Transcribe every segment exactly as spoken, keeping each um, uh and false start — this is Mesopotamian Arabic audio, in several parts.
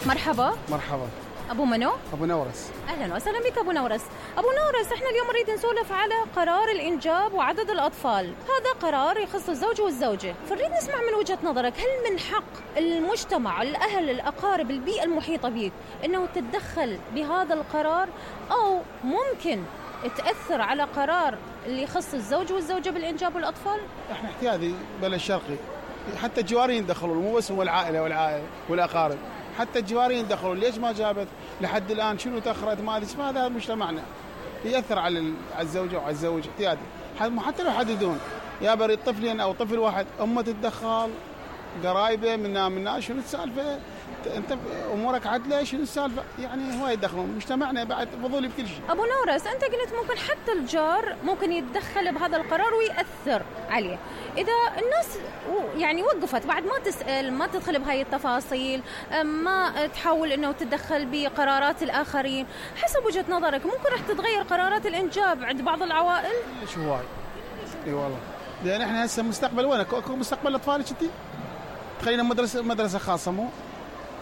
مرحبا. مرحبا. أبو منو؟ أبو نورس. أهلا وسهلا بك أبو نورس. أبو نورس، إحنا اليوم نريد نسولف على قرار الإنجاب وعدد الأطفال. هذا قرار يخص الزوج والزوجة، فنريد نسمع من وجهة نظرك، هل من حق المجتمع، الأهل، الأقارب، البيئة المحيطة بك إنه تتدخل بهذا القرار، أو ممكن تأثر على قرار اللي يخص الزوج والزوجة بالإنجاب والأطفال؟ إحنا احتياطي بلد شرقي، حتى الجوارين يدخلون، مو بس هو العائلة والعائلة والأقارب، حتى الجوارين يدخلون. ليش ما جابت لحد الآن؟ شنو تأخرت؟ ما أدري. هذا مجتمعنا يأثر على الزوجة وعلى الزوج احتياطي. حتى لو حددون يا بريد طفلين أو طفل واحد، أمه تتدخل، قرايبه منا منا، شنو السالفة؟ انت امورك عدله، شنو السالفه؟ يعني هو يدخلون مجتمعنا بعد فضولي بكل شيء. ابو نورس، انت قلت ممكن حتى الجار ممكن يتدخل بهذا القرار ويأثر عليه. اذا الناس يعني وقفت بعد ما تسأل، ما تدخل بهاي التفاصيل، ما تحاول انه تتدخل بقرارات الاخرين، حسب وجهة نظرك ممكن راح تتغير قرارات الانجاب عند بعض العوائل؟ شو هواي. اي والله، لان احنا هسه مستقبل وين؟ اكو مستقبل اطفالك انت؟ تخلينا مدرسه مدرسه خاصه، مو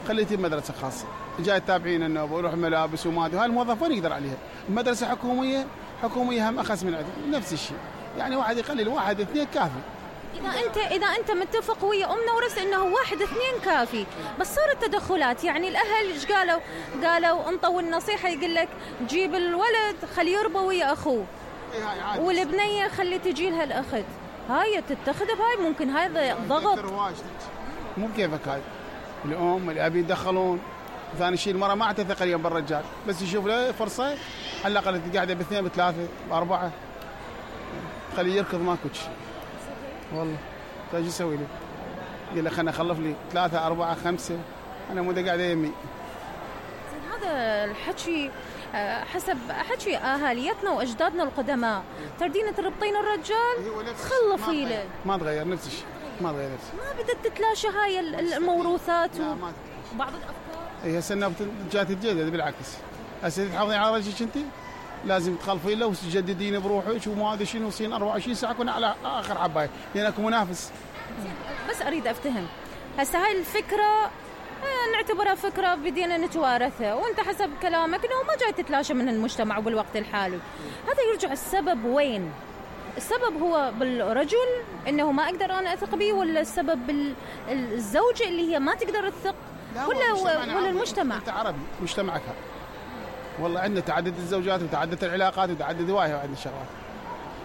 خليتي مدرسة خاصة، جاي تتابعين انه بروح ملابس وما ادري، هاي الموظف وين يقدر عليها؟ المدرسة حكومية، حكومية هم اخس من عندهم، نفس الشيء، يعني واحد يقلل، واحد اثنين كافي. اذا انت اذا انت متفق ويا ام نورس انه واحد اثنين كافي، بس صارت تدخلات، يعني الاهل ايش قالوا؟ قالوا انطوا النصيحة، يقول لك جيب الولد خليه يربى ويا اخوه، والبنية خلي تجي لها الاخت، هاي تتخذ بهاي، ممكن هذا ضغط. مو كيفك هاي الأم الأب يدخلون. ثاني شيء المرأة ما عتثق اليوم بالرجال، بس يشوف له فرصة على الأقل قاعدة باثنين بثلاثة بأربعة، خليه يركض ماكو شيء. والله طيب شو يسوي له؟ يقول له خلنا أخلف لي ثلاثة أربعة خمسة، أنا مو قاعدة يمي. هذا الحكي حسب حكي أهاليتنا وأجدادنا القدماء، تردين تربطين الرجال خلفي له. ما تغير نفس الشيء، ما تغير نفس الشيء. ما بدأت تتلاشى هاي الموروثات وبعض الأفكار. هي هسه جات تتجدد، بالعكس هسه تحافظين على رجلك انت، لازم تخلفين له وتجددين بروحك وما ادري شنو، وصين أربعة وعشرين ساعه كنا على اخر حبايه لانكم منافس. بس اريد افتهم هسه هاي الفكره نعتبرها فكره بدينا نتوارثها، وانت حسب كلامك انه ما جاي تتلاشى من المجتمع بالوقت الحالي، هذا يرجع السبب وين؟ السبب هو بالرجل انه ما اقدر انا اثق به، ولا السبب بالزوجه اللي هي ما تقدر تثق، ولا ولا المجتمع؟ انت عربي، مجتمعك هذا والله عندنا تعدد الزوجات وتعدد العلاقات وتعدد هوايه، وعندنا شغلات،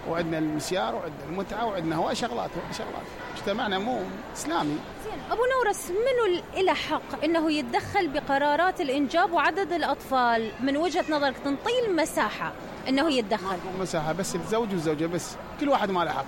وعندنا المسيار وعندنا المتعه وعندنا هواي شغلات شغلات مجتمعنا مو اسلامي. زين ابو نورس، منو له حق انه يتدخل بقرارات الانجاب وعدد الاطفال من وجهه نظرك؟ تنطي المساحه انه يتدخل؟ مساحه بس الزوج والزوجه، بس كل واحد ما له حق.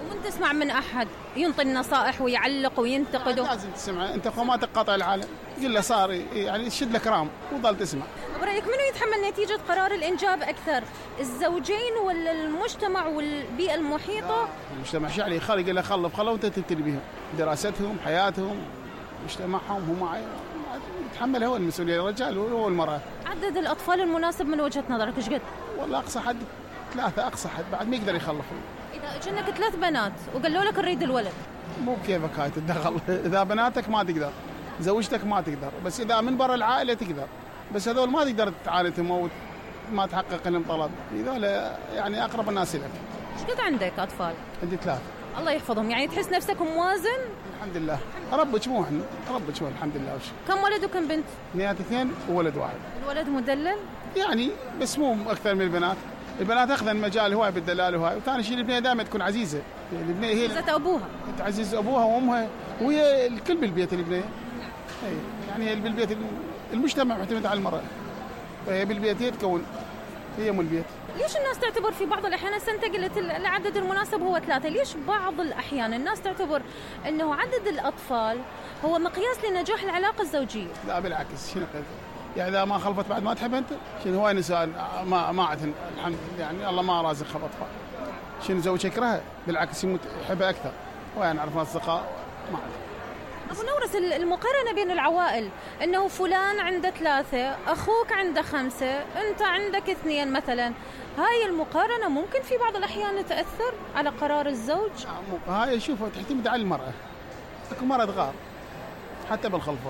ومن تسمع من احد ينطي النصائح ويعلق وينتقد؟ لازم تسمع انت، خو ما تقاطع العالم، قل له صار يعني شد لك رام وظل تسمع. برايك منو يتحمل نتيجه قرار الانجاب اكثر، الزوجين ولا المجتمع والبيئه المحيطه؟ المجتمع شو عليه؟ خلي قل له خلف خلوا وانت تبتلي بهم، دراستهم، حياتهم، مجتمعهم، هم يتحمل هو المسؤوليه، الرجال هو المراه. عدد الاطفال المناسب من وجهه نظرك ايش قد؟ والله اقصى حد ثلاثه، اقصى حد بعد ما يقدر يخلفون. اذا اجنك ثلاث بنات وقالوا لك نريد الولد، مو كيفك هاي تتدخل. اذا بناتك ما تقدر، زوجتك ما تقدر، بس اذا من برا العائله تقدر، بس هذول ما تقدر تعاندهم او ما تحقق لهم طلب، هذول يعني اقرب الناس لك. ايش قد عندك اطفال؟ عندي ثلاثه. الله يحفظهم، يعني تحس نفسك موازن؟ الحمد لله، ربك مو احنا، ربك مو الحمد لله. وش كم ولد وكم بنت؟ اثنين اثنين وولد واحد. الولد مدلل؟ يعني بس مو اكثر من البنات، البنات اخذن مجال هواي بالدلال وهاي، وثاني شيء البنيه دائما تكون عزيزه، البنيه هي عزيزه ابوها، تعزز ابوها وامها، وهي الكل بالبيت البنيه. اي يعني هي بالبيت المجتمع معتمد على المراه، فهي بالبيت هي تكون، هي ام البيت. ليش الناس تعتبر في بعض الأحيان، أنت قلت العدد المناسب هو ثلاثة، ليش بعض الأحيان الناس تعتبر أنه عدد الأطفال هو مقياس لنجاح العلاقة الزوجية؟ لا بالعكس، شنو قلت؟ يعني إذا ما خلفت بعد ما تحب أنت؟ شنو هواي نساء ما ما عندهن الحمد لله، يعني الله ما رازق خلف أطفال، شنو زوج يكرهها؟ بالعكس يموت يحبها أكثر، وين نعرف أصدقاء ما عندهم. أبو نورس، المقارنة بين العوائل أنه فلان عنده ثلاثة، أخوك عنده خمسة، أنت عندك اثنين مثلا، هاي المقارنة ممكن في بعض الأحيان تأثر على قرار الزوج؟ هاي شوفوا تعتمد على المرأة، اكو مرأة تغار حتى بالخلفة،